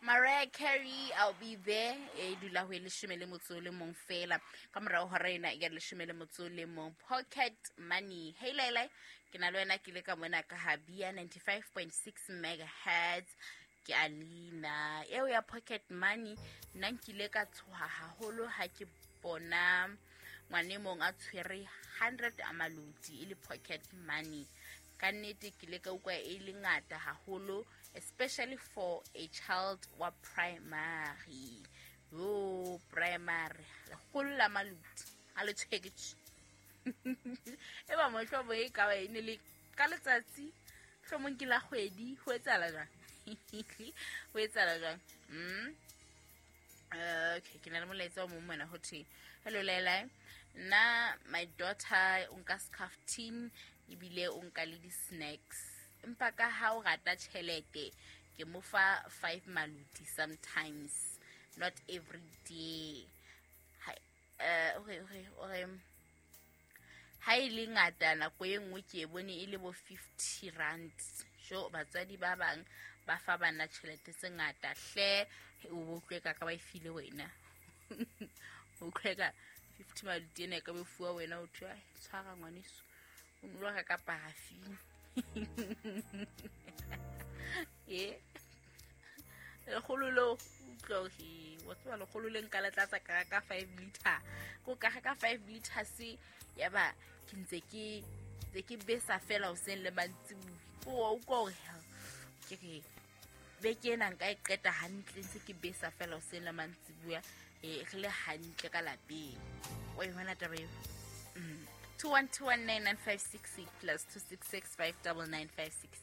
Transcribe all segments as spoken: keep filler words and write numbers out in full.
Mariah Carey, I'll Be There, e dula ho e leshome le motso o le mong fela ka morao hora ena ya leshome le motso o le mong. Pocket money. Hey Laila, ke na le wena, ke le ka mona ka Habia ninety-five point six megahertz, ke Alina. Eo ya pocket money, nna nkile ka tshoha haholo ha ke bona ngwane e mong a tshwere hundred a maloti e le pocket money. Ka nnete ke ile ka utlwa e le ngata haholo, especially for a child wa primary. Yo, primary, lekgolo la maloti a le tshwere tje. E ba mohlomong e ka ba e ne le ka letsatsi, mohlomong ke la kgwedi. Ho etsahala jwang? Ho etsahala jwang? mm okay, ke na le molaetsa o mong mona. Ho thwe, hello Laila, nna my daughter o nka scarf tin ebile o nka le di-snacks, empa ka ha o rata tjhelete ke mo fa five maluti sometimes, not every day. Ha- eh, ore ore ore ha e le ngata nako e nngwe ke e bone e le bo fifty rand. Jo, batswadi ba bang ba fa bana tjhelete tse ngata hle. O bo utlwe ka ka ba e file wena, o utlwe ka fifty maluti ena e ka be fuwa wena, o thwe, "Ai, tshwara ngwaneso, o no lo reka parafini." E lekgolo leo, utlwa hore wa tseba lekgolo le nka le tlatsa ka ka five liter, ko ka reka five liters, ya ba ke ntse ke ntse ke besa fela hoseng le mantsibuya. O utlwa hore ke re beke ena nka e qeta hantle ntse ke besa fela hoseng le mantsibuya, e re le hantle ka lapeng. O e bona taba eo? Mm. two one two one nine nine five six plus two six six five nine nine five six.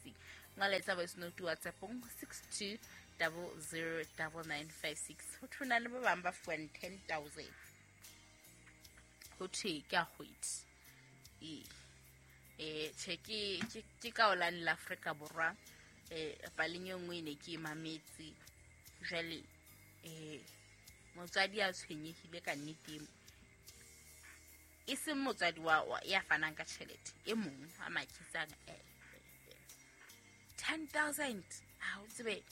Ngwaletsa voice note WhatsAppong six two double zero double nine five six. Ho thwe na le ba bang ba fuwang ten thousand, ho thwe ke a kgwedi. Ee, eh tjhe, ke ke ke ka olane la Afrika Borwa. eh paleng e nngwe e ne ke e mametse jwale, eh motswadi a tshwenyehile ka nnete, e seng motswadi wa wa- ya fanang ka tjhelete, e mong a makisang eh, ten thousand ha o tsebe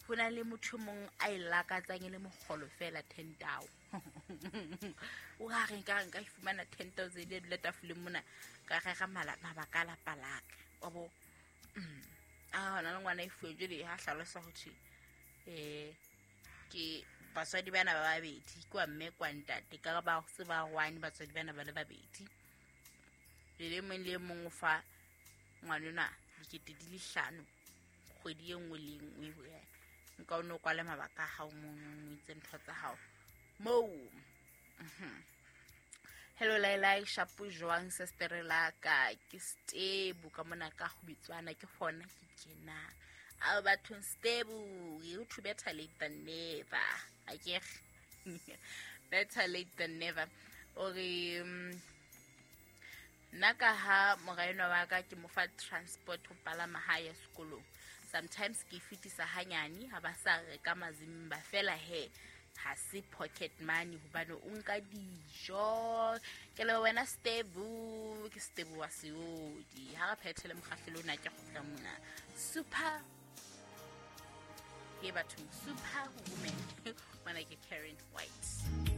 ho na le motho e mong a e lakatsang e le mokgolo fela ten tao. O ka re nka nka fumana ten thousand e dula tafoleng mona, ka rera mala- mabaka a lapa laka wa bo. Mm. A hona le ngwana e fuwe jwale, ha hlalosa ho thwe um ke batswadi bana ba babedi, ke wa mme kwa ntate, ka ba se ba one batswadi bana ba le babedi le le mong le mong o fa ngwanona dikete di le hlano kgwedi e nngwe le e nngwe. Nka o no kwale mabaka a hao mono, o itse ntho tsa hao moo. Mhm. Hello Laila, shapo jwang sestere la ka? Ke Stebu ka mona ka go bitswana, ke gona ke kenang ao bathong. Stebu, you to better late than never akere, better late than never. Ore mm, nna ka ha mora enwa wa ka ke mo fa transport ho palama ha ya sekolong, sometimes ke e fetisa hanyane ha ba sa reka mazimba fela. He, ha se pocket money hobane o nka dijo. Ke le wena Stebu, ke Stebu wa Seodi. Ha re phethele mokgahlelo ona, ke kgutla mona. Super ke bathong, super woman, ngwana ke Karen White.